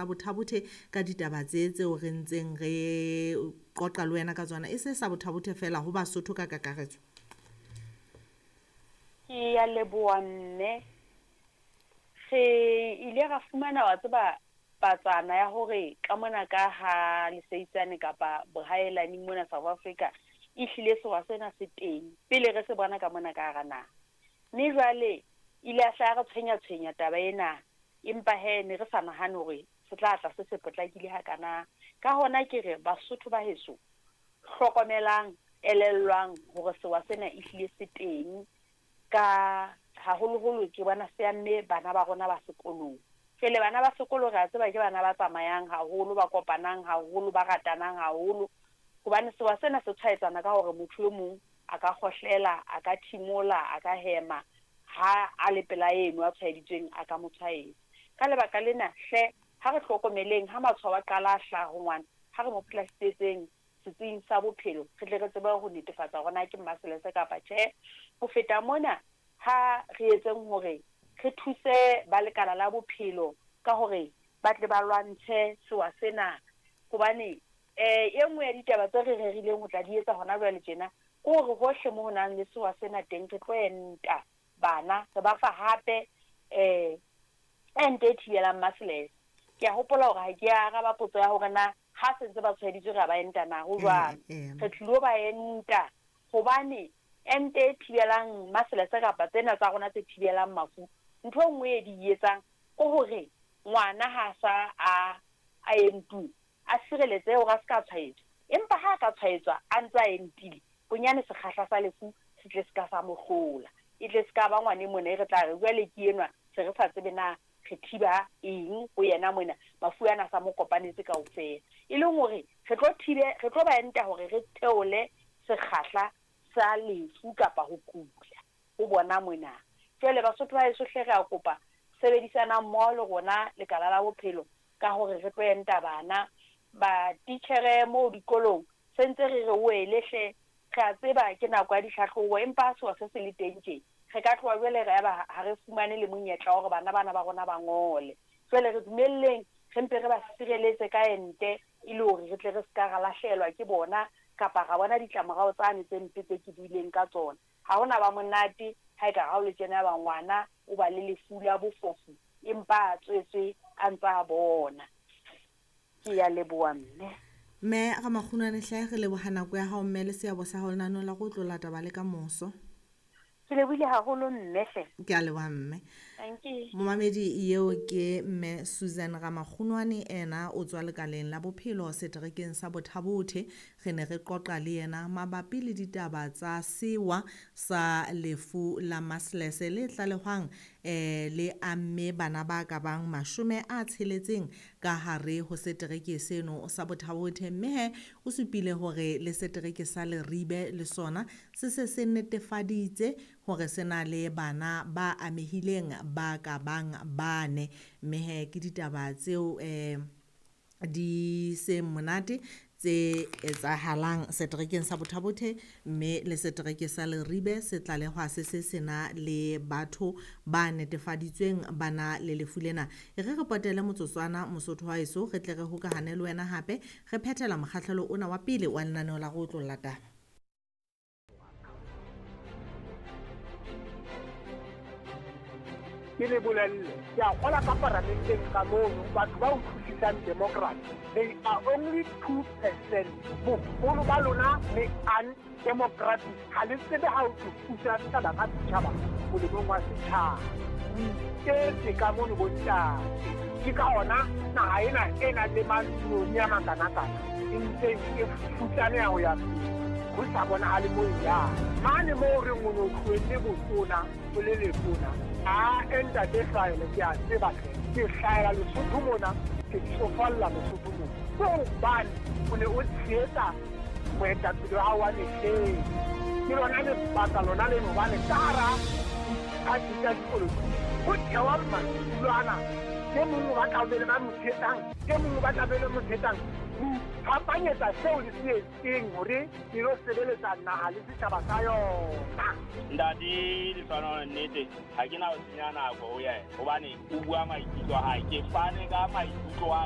sa Botha-Bothe ka ditaba tse tseo re ntseng re qoqa le wena ka tsona, e se sa Botha-Bothe fela, ho Basotho ka kakaretso? Ke ya leboha mme. Re ile ra fumana wa tseba patsana ya hore ka mona ka ha Leseitsane kapa bohaelani mona South Africa e hlile sewa sena se teng pele re se bona ka mona ka hara naha. Mme jwale ile a hlaha re tshwenya-tshwenya taba ena, empa he ne re sa nahane hore se tla tla se se potlakile hakana. Ka hona ke re Basotho ba heso, hlokomelang, elellwang hore sewa sena e hlile se teng, ka haholoholo ke bona se amme bana ba rona ba sekolong. Jwale bana ba sekolo re a tseba ke bana ba tsamayang haholo, ba kopanang haholo, ba ratanang haholo, hobane sewa sena se tshwaetsana ka hore motho e mong a ka kgohlela, a ka thimola, a ka hema ha a le pela eno a tshwaeditsweng, a ka mo tshwaetsa. Ka lebaka lena hle ha re hlokomeleng ha matshwao a qala a hlaha ho ngwana, ha re mo plasitsetseng setsing sa bophelo, re tle re tsebe ho netefatsa hore na ke mmaselese kapa tjhe. Ho feta mona, ha re etseng hore re thuse ba lekala la bophelo ka hore ba tle ba lwantshe sewa sena, hobane e nngwe ya ditaba tse re rerileng ho tla di etsa hona jwale tjena ke hore hohle mo ho nang le sewa sena teng re tlo enta bana, re ba fa hape ente e thibelang maselese. Ke a hopola hore ha ke araba potso ya hore na ha se ntse ba tshwaeditswe re a ba enta na, ho jwalo. Re tlilo ba enta hobane ente e thibelang maselese kapa tsena tsa rona tse thibelang mafu, ntho e nngwe e di etsang ke hore ngwana ha sa a entuwe a sireletse hore a se ka tshwaetswa, empa ha a ka tshwaetswa a ntse a entile, bonyane sekgahla sa lefu se tle se ka sa mo hlola, e tle se ka ba ngwane mona e re tla re jwale ke enwa se re sa tsebe na re thiba eng ho yena mona, mafu ana sa mo kopanetse kaofela. E leng hore re tlo thibe, re tlo ba enta hore re theole sekgahla sa lefu kapa ho kula ho bona mona. Jwale Basotho ba heso hle re a kopa sebedisanang mmoho le rona lekala la bophelo ka hore re tlo enta bana. Ba titjhere moo dikolong se ntse re re wele hle, re a tseba ke nako ya dihlahlobo, empa ha sewa se se le teng tje re ka tloha jwale re eba ha re fumane le monyetla wa hore bana bana ba rona ba ngole. Jwale re dumelleng re mpe re ba sireletse ka ente e le hore re tle re ska ra lahlehelwa ke bona kapa ra bona ditlamorao tsane tse mpe tse ke buileng ka tsona. Ha hona ba monate ha e ka ha o le tjena ba ngwana o ba le lefu la bofofu empa a tswetswe a ntse a bona. Ke ya leboha mme. Mme Ramakgunwane hle re leboha nako ya hao mme le seabo sa hao lenaneo la go tlola taba le ka moso. Ke lebohile haholo mme hle. Ke a leboha mme. Thank you. Momamedi eo ke mme Susan Ramakgunwane, ena o tswa lekaleng la bophelo seterekeng sa Botha-Bothe. Re ne re qoqa le yena mabapi le ditaba tsa sewa sa lefu la maselese le tlalehwang le amme bana ba ka bang 60 ka hare ho setereke seno sa Botha-Bothe. Mme he o supile hore le setereke sa Leribe le sona se se se netefaditse hore se na le bana ba amehileng ba ka bang 4. Mme he ke ditaba tseo di seng monate tse etsahalang seterekeng sa Botha-Bothe, mme le setereke sa Leribe se tlalehwa se se sena le batho ba netefaditsweng ba na le lefu lena. E re re potele motsotswana Mosotho wa heso, re tle re hokahane le wena hape re phethela mokgahlelo ona wa pele wa lenaneo la go otlolla taba. Ke le bolelle, ke a kgola ka paramenteng ka mono, batho ba utlwisisang democracy, they are only 2%. Boholo ba lona le undemocratic, ha le tsebe ha ho thusa setjhaba ka setjhaba molemong wa setjhaba. O iketse ka mono bontate. Ke ka hona naha ena e nang le mantsiboya a makanakana e ntse e futsaneha ho ya pele, ho sa bonahale moo e yang. Mane moo re o no tlohelle botona, o le letona, a ntate Hlahele, ke a tseba hle. Ke hlahela Lesotho mona, ke tsofalla Lesotho mona. Ke hobane o ne o tshehetsa moetapele wa hao wa mehleng. Ke lona lebaka lona leno hobane ka hara diphathi tsa dipolotiki ho thewa madulo ana. E mong o batla ho be le ba mo tshehetsang, e mong o batla ho be le mo tshehetsang. Ho iphapanyetsa seo le se etseng hore le lo sebeletsa naha le setjhaba sa yona. Ntate Lehlohonolo, nnete ha ke na ho senya nako ho yena hobane o bua maikutlo a hae. Ke fane ka maikutlo a